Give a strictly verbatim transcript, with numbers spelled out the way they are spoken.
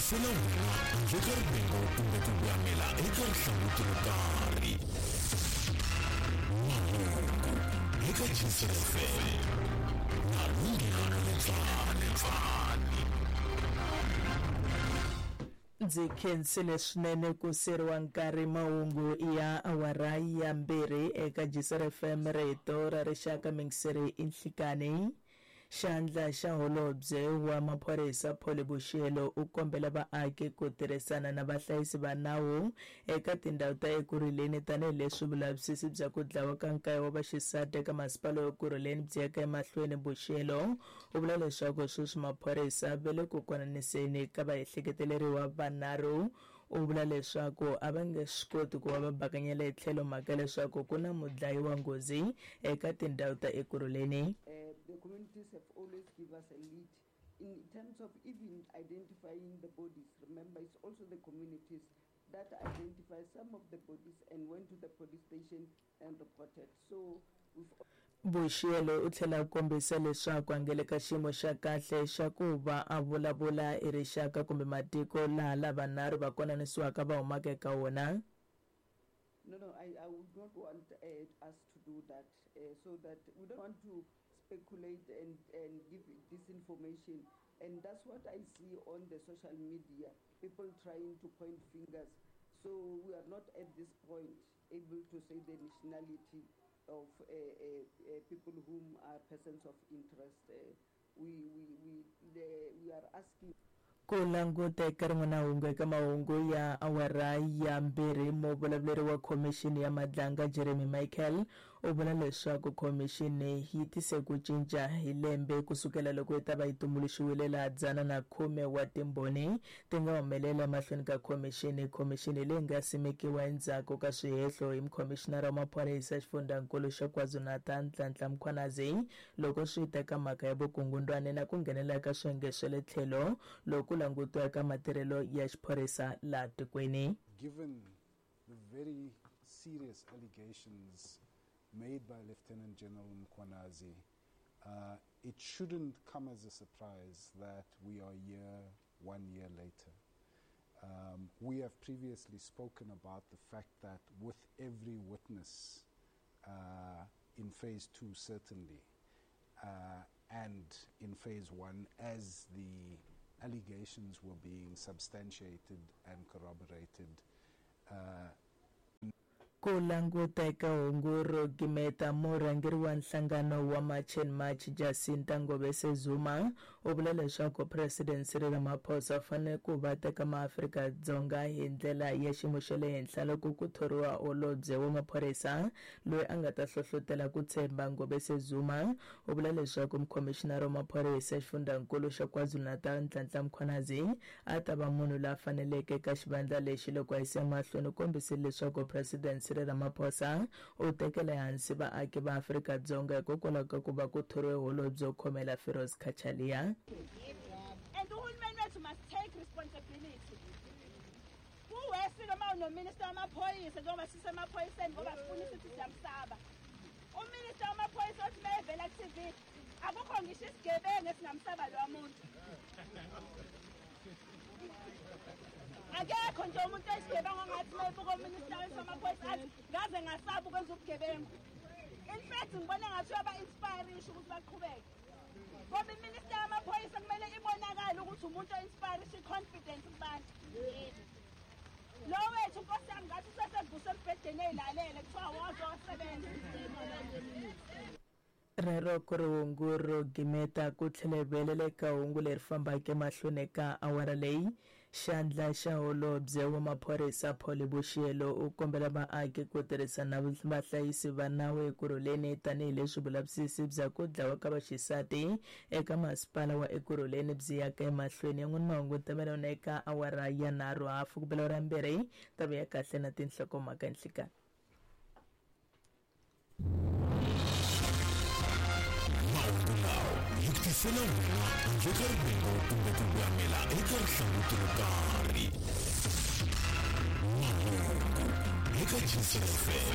tisela wena handle ka rivengo kumbe ku voyamela eka rihlanguti ro karhi. Mahungu eka G C F M na Lunghelo Letsane. Ndzi khensile swinene ku seriwa nkarhi. Mahungu ya awara ya mbirhi eka G C R F M, rito ra rixaka. Mingiseri i nhlikani. Xandla xa holobye wa maphorisa Polly Boshielo u kombela vaaki ku tirhisana na vahlayisi va nawu eka tindhawu ta Ekurhuleni, tanihileswi vulavisisi bya ku dlawa ka nkaye wa vaxisati eka masipala wa Ekurhuleni byi yaka emahlweni. Boshielo u vula leswaku sweswi maphorisa va le ku konaniseni ka vaehleketeleriwa vanharhu. U vula leswaku a va nge swi koti ku va va bakanyela hi tlhelo mhaka leswaku ku na mudlayi wa nghozi eka tindhawu ta Ekurhuleni. Uh, the communities have always give us a lead in terms of even identifying the bodies. Remember, it's also the communities that identify some of the bodies and went to the police station and reported. So we've Boshielo u tlhela a kombisa leswaku a nge le ka xiyimo xa kahle xa ku va a vulavula hi rixaka kumbe matiko laha lavanharhu va konanisiwaka va humaka eka wona. No, no, I, I would not want uh, us to do that, uh, so that we don't want to speculate and, and give disinformation. And that's what I see on the social media, people trying to point fingers. So we are not at this point able to say the nationality of uh, uh, uh, people whom are persons of interest. Uh, we, we, we, the, we are asking Ku languta eka rin'wana hungu, eka mahungu ya awara ya mbirhi, muvulavuleri wa Khomixini ya Madlanga Jeremy Michael u vula leswaku khomixini yi tise ku cinca hi lembe kusukela loko yi ta va yi tumbuluxiwile, laha dzana na khume wa timbhoni ti nga humelela emahlweni ka khomixini. Khomixini leyi nga simekiwa endzhaku ka swihehlo hi mukhomixinara wa maphorisa xifundzankulu xa KwaZulu-Natal Nhlanhla Mkhwanazi loko swi ta ka mhaka ya vukungundwani na ku nghenelela ka swiyenge swa le tlhelo loko langutiwa ka matirhelo ya xiphorisa laha tikweni. Given the very serious allegations made by Lieutenant General Mkhwanazi, uh, it shouldn't come as a surprise that we are here one year later. Um, we have previously spoken about the fact that with every witness uh, in phase two, certainly, uh, and in phase one, as the allegations were being substantiated and corroborated, uh, Ku languta eka hungu ro gimeta, murhangeri wa nhlangano wa March and March Jacinta Ngobese Zuma u vula leswaku President Cyril Ramaphosa u fanele ku va teka maAfrika-Dzonga hi ndlela ya xiyimo xa le henhla loko ku thoriwa holobye wa maphorisa loyi a nga ta hlohlotela ku tshemba. Ngobese Zuma u vula leswaku mukhomixinara wa maphorisa xifundzankulu xa KwaZulu-Natal Nhlanhla Mkhwanazi a ta va munhu loyi a faneleke eka xivandla lexi. Loko a yisa emahlweni, u kombisile leswaku President Cyril Ramaphosa u tekela ehansi vaaki va Afrika-Dzonga hikokwalaho ka ku va ku thoriwe holobye wo khomela Firoz Cachalia. And uhulumeni wethu must take responsibility. Kuwesi noma unominister wamaphoyisa, njengoba sisemaphoyiseni, ngoba sifuna ukuthi siyamsaba uminister wamaphoyisa othi uma evela ku-T V akukho ngisho isigebengu esingamsaba lowa muntu. Akekho nje umuntu oyisigebengu ongathi uma ebuka uminister wethu wamaphoyisa athi ngaze ngasaba ukwenza ubugebengu. In fact, ngibona ngathi uyaba-inspirisha ukuthi baqhubeke, ngoba iminister yamaphoyisa kumele ibonakale ukuthi umuntu o-inspirisha i-confidence kubantu. Lo wethu, nkosi yami, ngathi usesevuswe embhedeni ey'lalele, kuthiwa woza wasebenza. Rero ku ri hungu ro gimeta. Ku tlhela hi vuyelela eka hungu leri fambaka emahlweni ka awara leyi, xandla xa holobye wa maphorisa Polly Boshielo u kombela vaaki ku tirhisana na vahlayisi va nawu Ekurhuleni, tanihileswi vulavisisi bya ku dlawa ka vaxisati eka masipala wa Ekurhuleni byi yaka emahlweni. Yan'wini mahungu tamela wona eka awara ya nharhu hafu ku bela awara mbirhi. Tava ya kahle na tinhlokomhaka nhlikani. Mahungu lawa hi ku tisela wena handle ka rivengo kumbe ku voyamela eka rihlanguti ro karhi. Mahungu eka G C F M.